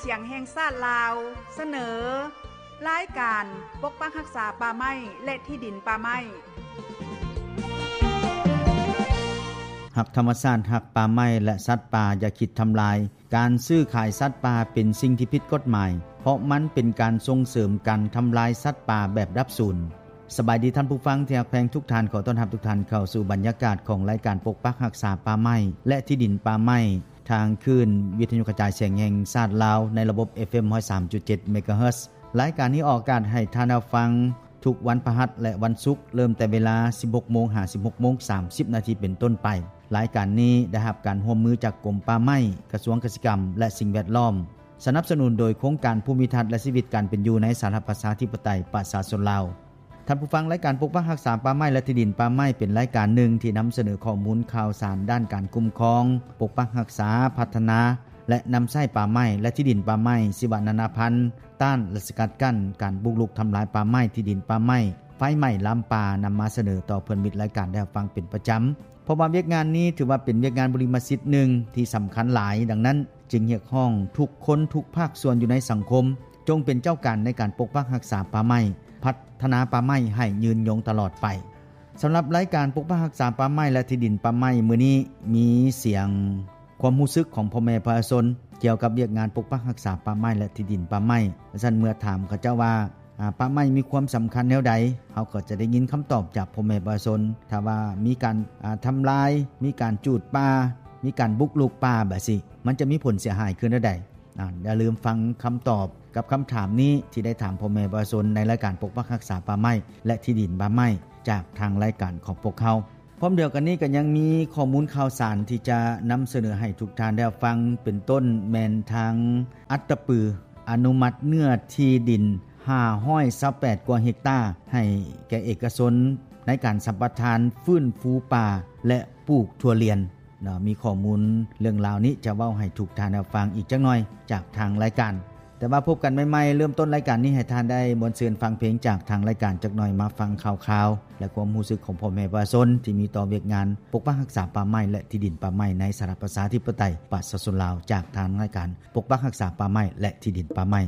ສຽງແຫ່ງຊາດລາວ ສະເໜີ ລາຍການປົກປັກຮັກສາປ່າໄມ້ ແລະ ທີ່ດິນປ່າໄມ້. ຮັກທຳມະຊາດ, ຮັກປ່າໄມ້ ແລະ ສັດປ່າ, ຢ່າຄິດທຳລາຍ. ການຊື້ຂາຍສັດປ່າເປັນສິ່ງທີ່ຜິດກົດໝາຍ, ເພາະມັນເປັນການສົ່ງເສີມການທຳລາຍສັດປ່າແບບດັບສູນ. ສະບາຍດີທ່ານຜູ້ຟັງທີ່ຮັກແພງທຸກທ່ານ, ຂໍຕ້ອນຮັບທຸກທ່ານເຂົ້າສູ່ບັນຍາກາດຂອງລາຍການປົກປັກຮັກສາປ່າໄມ້ ແລະ ທີ່ດິນປ່າໄມ້ ທາງຄື້ນວິທະຍຸກະຈາຍສຽງແຫ່ງຊາດລາວ ໃນລະບົບ ເອັຟເອັມ ຮ້ອຍສາມຈຸດເຈັດ ເມກາເຮີດ. ລາຍການນີ້ອອກອາກາດໃຫ້ທ່ານຮັບຟັງທຸກວັນພະຫັດ ແລະ ວັນສຸກ, ເລີ່ມແຕ່ເວລາ ສິບຫົກໂມງ ຫາ ສິບຫົກໂມງ ສາມສິບນາທີເປັນຕົ້ນໄປ. ລາຍການນີ້ໄດ້ຮັບການຮ່ວມມືຈາກກົມປ່າໄມ້, ກະຊວງກະສິກຳ ແລະ ສິ່ງແວດລ້ອມ, ສະໜັບສະໜູນໂດຍໂຄງການພູມິທັດ ແລະ ຊີວິດການເປັນຢູ່ໃນສາທາລະນະລັດ ປະຊາທິປະໄຕ ປະຊາຊົນລາວ. ທ່ານຜູ້ຟັງ, ລາຍການປົກປັກຮັກສາປ່າໄມ້ ແລະ ທີ່ດິນປ່າໄມ້ ເປັນລາຍການໜຶ່ງທີ່ນຳສະເໜີຂໍ້ມູນຂ່າວສານດ້ານການຄຸ້ມຄອງ, ປົກປັກຮັກສາ, ພັດທະນາ ແລະ ນຳໃຊ້ປ່າໄມ້ ແລະ ທີ່ດິນປ່າໄມ້, ຊີວະນານາພັນ, ຕ້ານ ແລະ ສະກັດກັ້ນການບຸກລຸກທຳລາຍປ່າໄມ້, ທີ່ດິນປ່າໄມ້, ໄຟໄໝ້ລາມປ່າ, ນຳມາສະເໜີຕໍ່ເພື່ອນມິດລາຍການໄດ້ຮັບຟັງເປັນປະຈຳ. ເພາະວ່າວຽກງານນີ້ຖືວ່າເປັນວຽກງານບຸລິມະສິດໜຶ່ງທີ່ສຳຄັນຫຼາຍ, ດັ່ງນັ້ນຈຶ່ງຮຽກຮ້ອງທຸກຄົນ, ທຸກພາກສ່ວນຢູ່ໃນສັງຄົມ ຈົ່ງເປັນເຈົ້າການໃນການປົກປັກຮັກສາປ່າໄມ້, ພັດທະນາປ່າໄມ້ໃຫ້ຍືນຍົງຕະຫຼອດໄປ. ສຳລັບລາຍການປົກປັກຮັກສາປ່າໄມ້ ແລະ ທີ່ດິນປ່າໄມ້ມື້ນີ້ ມີສຽງຄວາມຮູ້ສຶກຂອງພໍ່ແມ່ປະຊາຊົນກ່ຽວກັບວຽກງານປົກປັກຮັກສາປ່າໄມ້ ແລະ ທີ່ດິນປ່າໄມ້. ຊັ້ນເມື່ອຖາມເຂົາເຈົ້າວ່າ ອາ ປ່າໄມ້ມີຄວາມສຳຄັນແນວໃດ, ເຮົາກໍຈະໄດ້ຍິນຄຳຕອບຈາກພໍ່ແມ່ປະຊາຊົນ. ຖ້າວ່າມີການ ອາ ທຳລາຍ, ມີການຈູດປ່າ, ມີການບຸກລຸກປ່າແບບຊີ້ ມັນຈະມີຜົນເສຍຫາຍຄືແນວໃດ? ອາ ຢ່າລືມຟັງຄຳຕອບກັບຄຳຖາມນີ້ ທີ່ໄດ້ຖາມພໍ່ແມ່ປະຊາຊົນໃນລາຍການປົກປັກຮັກສາປ່າໄມ້ ແລະ ທີ່ດິນປ່າໄມ້ ຈາກທາງລາຍການຂອງພວກເຮົາ. ພ້ອມດຽວກັນນີ້ກໍຍັງມີຂໍ້ມູນຂ່າວສານທີ່ຈະນຳສະເໜີໃຫ້ທຸກທ່ານໄດ້ຮັບຟັງ, ເປັນຕົ້ນແມ່ນທາງອັດຕະປື ອະນຸມັດເນື້ອທີ່ດິນຫ້າຮ້ອຍຊາວແປດກວ່າເຮັກຕາ ໃຫ້ແກ່ເອກະຊົນໃນການສຳປະທານຟື້ນຟູປ່າ ແລະ ປູກຖົ່ວລຽນເນາະ. ມີຂໍ້ມູນເລື່ອງລາວນີ້ຈະເວົ້າໃຫ້ທຸກທ່ານໄດ້ຟັງອີກຈັກໜ່ອຍຈາກທາງລາຍການ. ແຕ່ວ່າພົບກັນໃໝ່ໆ ເລີ່ມຕົ້ນລາຍການນີ້ ໃຫ້ທ່ານໄດ້ມ່ວນຊື່ນຟັງເພງຈາກທາງລາຍການຈັກໜ່ອຍ, ມາຟັງຂ່າວຄາວ ແລະ ຄວາມຮູ້ສຶກຂອງພໍ່ແມ່ປະຊາຊົນທີ່ມີຕໍ່ວຽກງານປົກປັກຮັກສາປ່າໄມ້ ແລະ ທີ່ດິນປ່າໄມ້ໃນສະຫະລັດປະຊາທິປະໄຕປະຊາຊົນລາວ ຈາກທາງລາຍການປົກປັກຮັກສາປ່າໄມ້ ແລະ ທີ່ດິນປ່າໄມ້.